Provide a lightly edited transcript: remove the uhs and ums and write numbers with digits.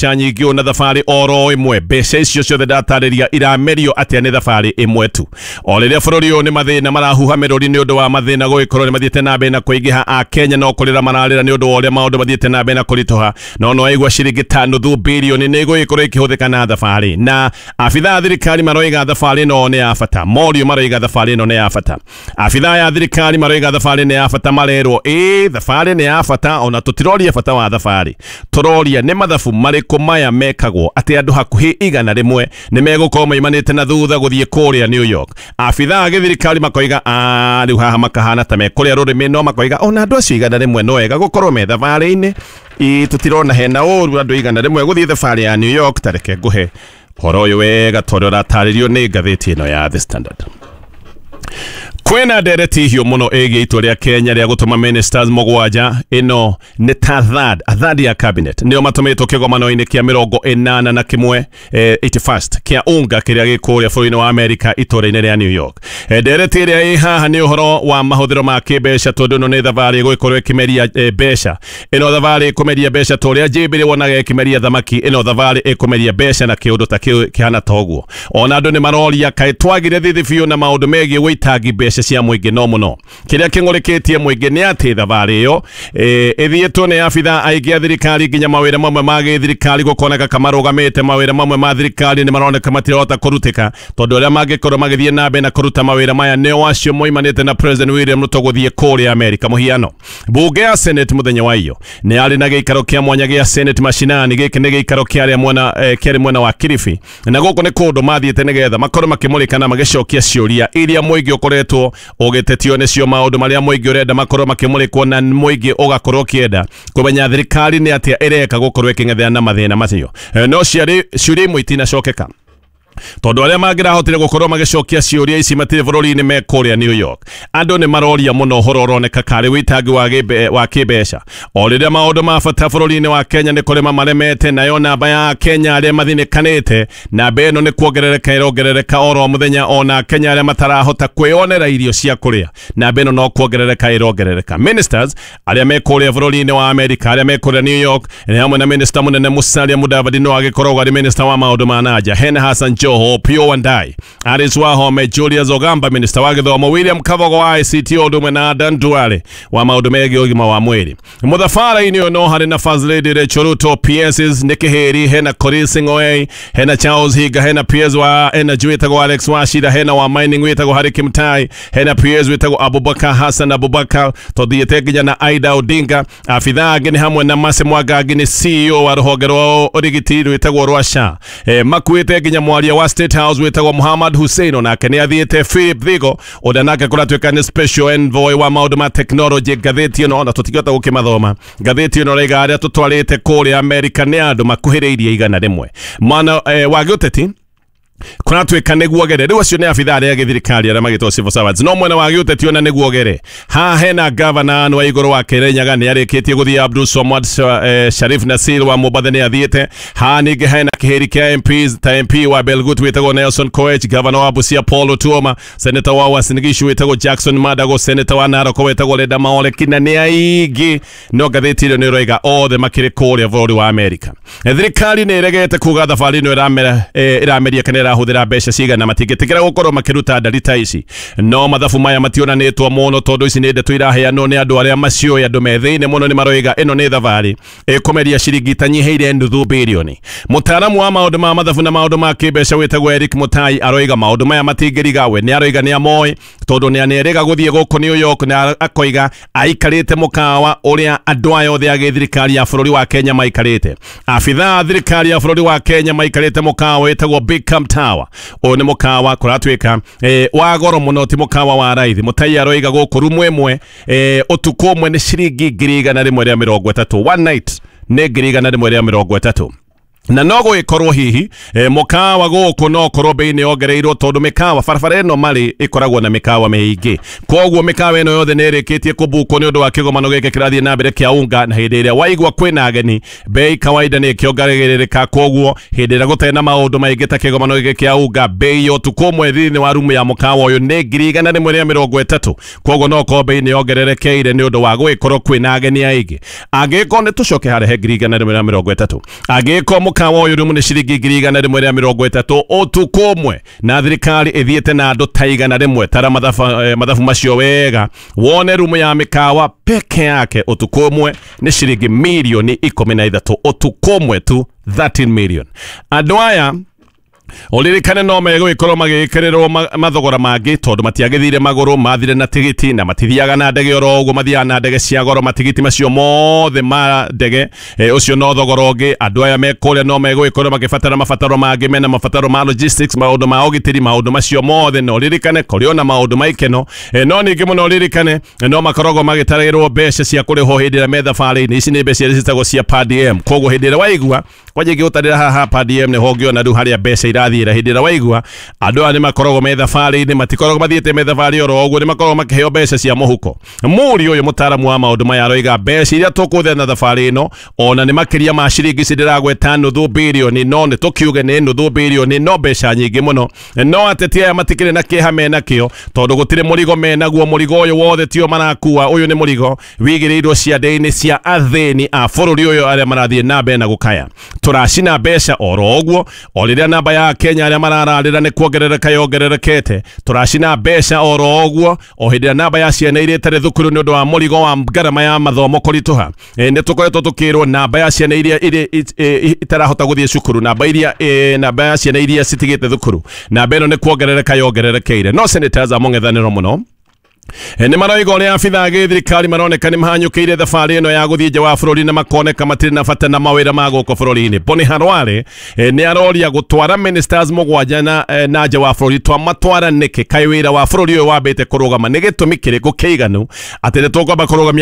Nyingĩ ũũ na thabarĩ oro ĩmwe. Mbeca icio ciothe ndatarĩria iramerio atĩa nĩ thabarĩ ĩmwe tu? O rĩrĩa bũrũri ũyũ nĩ mathĩna marahuha mĩrũri nĩ ũndũ wa mathĩna gũgĩkorwo nĩ mathiĩte na mbere na kũingĩha, a Kenya no kũrĩra mararĩra nĩ ũndũ wa ũrĩa maũndũ mathiĩte na mbere na kũritũha. No no aigua ciringi ta nuthu birioni nĩ igũgĩkorwo ikĩhũthĩka na thabarĩ, na abithaa a thirikari maroiga thabarĩ ĩno nĩ ya bata. Morio maroiga thabarĩ ĩno nĩ ya bata. Abithaa ya thirikari maroiga thabarĩ nĩ ya bata. Marerwo ĩĩ, thabarĩ nĩ ya bata, ona tũtiroria bata wa thabarĩ, tũroria nĩ mathabu marĩkũ maya mekagwo atĩ andũ hakuhĩ 100 nĩ megũkorwo maimanĩte na thutha gũthiĩ kũrĩa New York. Abithaa a gĩthirikari makoiga rĩu haha makahana ta mekũrĩa rũrĩmĩ, no makoiga ona andũ acio 100 no wega gũkorwo me thabarĩ-inĩ. Ĩ tũtirona hena ũru andũ 100 gũthiĩ thabarĩ ya New York. Tareke ngũhe ũhoro ũyũ wega tondũ ũratarĩrio nĩ ngathĩti ĩno ya The Standard. Kwĩna ndereti hiũ mũno ĩgiĩ itua rĩa Kenya rĩa gũtũma ministers 7. Ĩno nĩ ta third, a third ya cabinet nĩo matũmĩtwo kĩgomano-inĩ kĩa 81, 81st kĩa UNGA kĩrĩa gĩ kũrĩa bũrũri-inĩ wa Amerika itũũra-inĩ rĩa New York. Ndereti ĩrĩa ĩ haha nĩ ũhoro wa mahũthĩro ma kĩmbeca, tondũ ĩno nĩ thabarĩ ĩgũgĩkorwo ĩkĩmeria mbeca. Ĩno thabarĩ ĩkũmeria mbeca ta ũrĩa njĩmbĩrĩ wonaga ĩkĩmeria thamaki. Ĩno thabarĩ ĩkũmeria mbeca na kĩũndũ ta kĩu kĩhana ta ũguo. Ona andũ nĩ maroria kaĩ twagire thithi biũ na maũndũ megiĩ wĩitangi mbeca cia mũingĩ. No mũno kĩrĩa kĩng'ũrĩkĩtie mũingĩ nĩ atĩ thabarĩ ĩyo ĩthiĩtwo nĩ abithaa aingĩ a thirikari, nginya mawĩra mamwe ma gĩthirikari gũkoneka kamarũgamĩte. Mawĩra mamwe ma thirikari nĩ maroneka matirahota kũrutĩka, tondũ arĩa mangĩkorwo magĩthiĩ na mbere na kũruta mawĩra maya nĩo acio moimanĩte na President William Ruto gũthiĩ kũrĩa Amerika. Mũhiano, mbunge ya Senate mũthenya wa iyo nĩ yarĩ na gĩikaro kĩa mwanya gĩa Senate mashinani. Gĩkĩ nĩ gĩikaro kĩarĩa mwena kĩarĩ mwena wa Kilifi, na gũkũ nĩ kũndũ mathiĩte nĩgetha makorwo makĩmũrĩka na magĩcokia ciũria iria mũingĩ ũkoretwo ũgĩtetio nĩcio, maũndũ marĩa mũingĩ ũrenda makorwo makĩmũrĩkwo, na mũingĩ ũgakorwo ũkĩenda kũmenya thirikari nĩ atĩa ĩreka gũkorwo ĩkĩng'ethera na mathĩna macio. No ciarĩ ciũria imwe itinacokeka, tondũ arĩa mangĩrahotire gũkorwo magĩcokia ciũria ici matirĩ bũrũri-inĩ, me kũrĩa New York. Andũ nĩ maroria mũno ũhoro ũroneka karĩ wĩitangi wa kĩmbeca, o rĩrĩa maũndũ ma bata bũrũri-inĩ wa Kenya nĩ kũrĩma maremete. Nayo namba ya Kenya arĩa mathinĩkanĩte, namba ĩno nĩ kuongerereka ĩrongerereka oro mũthenya. Ona Kenya arĩa matarahota kwĩonera irio cia kũrĩa, namba ĩno no kuongerereka ĩrongerereka. Ministers arĩa me kũrĩa bũrũri-inĩ wa Amerika, arĩa me kũrĩa New York, nĩ hamwe na minister mũnene Musalia Mudavadi, no agĩkoragwo arĩ minister wa maũndũ ma nanja, hena Hassan Joho, Opiyo Wandayi, Alice Wahome, Julius Ogamba minister wa gĩthomo, William Kabogo wa ICT, ũndũ ũmwe na Adan Duale wa maũndũ megiĩ ũgima wa mwĩrĩ. Mũthabara-inĩ ũyũ no harĩ na First Lady Rachel Ruto, PSs nĩ Kĩhĩri, hena Korir Sing'oei, hena Charles Higa, hena PS wa Energy wĩtagwo Alex Wachira, hena wa mining wĩtagwo Harry Kimtai, hena PS wĩtagwo Abubakar Hassan Abubakar, tũthiĩte nginya na Aida Odinga. Abithaa angĩ nĩ hamwe na Mercy Mwangangi, nĩ CEO wa rũhonge rwa ũrigiti rwĩtagwo rwa SHA. Makuĩte nginya mwaria wa State House wĩtagwo Muhammad Hussein, onake nĩ athiĩte. Philip Thigo, ũrĩa nake kũratuĩka nĩ special envoy wa maũndũ ma technology. Ngathĩti ĩno ona tũtingĩhota gũkĩmathoma. Ngathĩti ĩno raiga arĩa tũtwarĩte kũrĩa Amerika nĩ andũ makuhĩrĩirie 100. Mwana wa gĩũteti kũratuĩka nĩguo gere rĩu acio nĩ abithaa arĩa gĩthirikari arĩa magĩtwo civil servants. No mwena wa gĩũteti ona nĩguo gere haha hena gavana wa igũrũ wa Kirinyaga nĩ arĩkĩtie gũthiĩ, Abdul Swamad Sharif Nasir wa Mombatha nĩ athiĩte. Haha ningĩ hena kĩhĩri kĩa MPs ta MP wa Belgut wĩtagwo Nelson Koech, gavana wa Busia Paul Otuoma, senator wa Uasin Gishu wĩtagwo Jackson Madago, senator wa Narok wĩtagwo Leda Maole, kina nĩ aingĩ. No ngathĩti ĩyo nĩ ĩroiga othe makĩrĩ kũrĩa bũrũri wa Amerika. Thirikari nĩ ĩregete kuga thabarĩ ĩno ĩramera ĩrameria kana ĩrahũthĩra mbeca cigana. Matingĩtĩkĩra gũkorwo makĩruta ndari ta ici, no mathabu maya mationanĩtwo mũno, tondũ ici nĩ ndeto iraheanwo nĩ andũ arĩa maciũĩ. Andũ me thĩinĩ mũno nĩ maroiga ĩno nĩ thabarĩ ĩkũmeria ciringi itanyihĩire nuthu birioni. Mũtaaramu wa maũndũ ma mathabu na maũndũ ma kĩmbeca wĩtagwo Eric Mutai aroiga maũndũ maya matingĩriga. We nĩ aroiga nĩ amoĩ, tondũ nĩ anerĩga gũthiĩ gũkũ New York, na akoiga aikarĩte mũkawa ũrĩa andũ aya othe a gĩthirikari ya bũrũri wa Kenya maikarĩte. Abithaa a thirikari ya bũrũri wa Kenya maikarĩte mũkawa wĩtagwo Big Tower. Ũyũ nĩ mũkawa kũratuĩka wa goro mũno, ti mũkawa wa raithi. Mutai aroiga gũkũ rumu ĩmwe ũtukũ ũmwe nĩ ciringi 130,000. One night nĩ 130,000. Na no gũgĩkorwo hihi mũkawa gũkũ no korwo bei nĩ yongereirwo, tondũ mĩkawa barabara ĩno marĩ ĩkoragwo na mĩkawa mĩingĩ. Koguo mĩkawa ĩno yothe nĩ ĩrĩkĩtie kũbukwo nĩ ũndũ wa kĩgomano gĩkĩ kĩrathiĩ na mbere kĩa UNGA. Na hĩndĩ ĩrĩa waigua kwĩna ageni, bei kawaida nĩ ĩkĩongagĩrĩrĩka. Koguo hĩndĩ ĩrĩa gũtarĩ na maũndũ maingĩ ta kĩgomano gĩkĩ kĩa UNGA, bei ya ũtukũ ũmwe thĩinĩ wa rumu ya mũkawa ũyũ nĩ 130,000. Koguo no korwo bei nĩ yongererekeire nĩ ũndũ wa gũgĩkorwo kwĩna ageni aingĩ. Angĩkorwo nĩ tũcoke harĩa he 130,000, angĩkorwo mũkawa ũyũ rumu nĩ ciringi 130,000 ũtukũ ũmwe, na thirikari ĩthiĩte na andũ ta 100, tara mathabu macio wega wone rumu ya mĩkawa peke yake ũtukũ ũmwe nĩ ciringi mirioni 13, ũtukũ ũmwe tu, 13 million. Andũ aya ũririkane no megũgĩkorwo magĩkĩrĩrwo mathogora mangĩ, tondũ matiagĩthire magũrũ, mathire na tigiti, na matithiaga na ndege oro ũguo, mathiaga na ndege cia goro. Matigiti macio mothe ma ndege, ũcio no thogora ũngĩ. Andũ aya me kũrĩa no megũgĩkorwo makĩbatara mabataro mangĩ, mena mabataro ma logistics, maũndũ ma ũgitĩri, maũndũ macio mothe. No ũririkane kũrĩ ona maũndũ ma ikeno. No ningĩ mũno ũririkane no makoragwo magĩtarĩrwo mbeca cia kũrĩhwo hĩndĩ ĩrĩa me thabarĩ-inĩ. Ici nĩ mbeca iria ciĩtagwo cia per diem. Koguo hĩndĩ ĩrĩa waigua kwanja ingĩgũtarĩra haha per diem nĩho ũngĩona rĩu harĩa mbeca irathiĩra. Hĩndĩ ĩrĩa waigua andũ aya nĩ makoragwo me thabarĩ-inĩ, matikoragwo mathiĩte me thabarĩ oro ũguo, nĩ makoragwo makĩheo mbeca cia mũhuko. Mũri ũyũ mũtaaramu wa maũndũ maya aroiga mbeca iria tũkũhũthĩra na thabarĩ ĩno ona nĩ makĩria ma ciringi ici ndĩragweta nuthu birioni, no nĩ tũkiuge nĩ nuthu birioni, no mbeca nyingĩ mũno. No ateti aya matikĩrĩ na kĩeha menakĩo, tondũ gũtirĩ mũrigo menaguo. Mũrigo ũyũ wothe tio marakua, ũyũ nĩ mũrigo wigĩrĩirwo ciande-inĩ cia athĩni a bũrũri ũyũ arĩa marathiĩ na mbere na gũkaya. Tũracina mbeca oro ũguo, o rĩrĩa namba ya Kenya arĩa marararĩra nĩ kuongerereka yongererekete. Tũracina mbeca oro ũguo, o hĩndĩ ĩrĩa namba ya ciana iria itarĩ thukuru nĩ ũndũ wa mũrigo wa ngarama ya mathomo kũritũha. Nĩ tũkoretwo tũkĩrwo namba ya ciana iria itarahota gũthiĩ cukuru, namba ya ciana iria citigĩte thukuru, namba ĩno nĩ kuongerereka yongererekeire. No senators a mũng'ethanĩro mũno nĩ maroiga ũrĩa abithaa a gĩthirikari maroneka nĩ mahanyũkĩire thabarĩ ĩno ya gũthiĩ nja wa bũrũri, na makoneka matirĩ na bata na mawĩra ma gũkũ bũrũri-inĩ. Boni Harware nĩ aroria gũtwara ministers 7 na nja wa bũrũri twamatwara nĩkĩ? Kaĩ wĩra wa bũrũri ũyũ wambĩte kũrũgama? Nĩ gĩtũmi kĩrĩkũ kĩiganu atĩ nĩ tũkwamba kũrũgamia?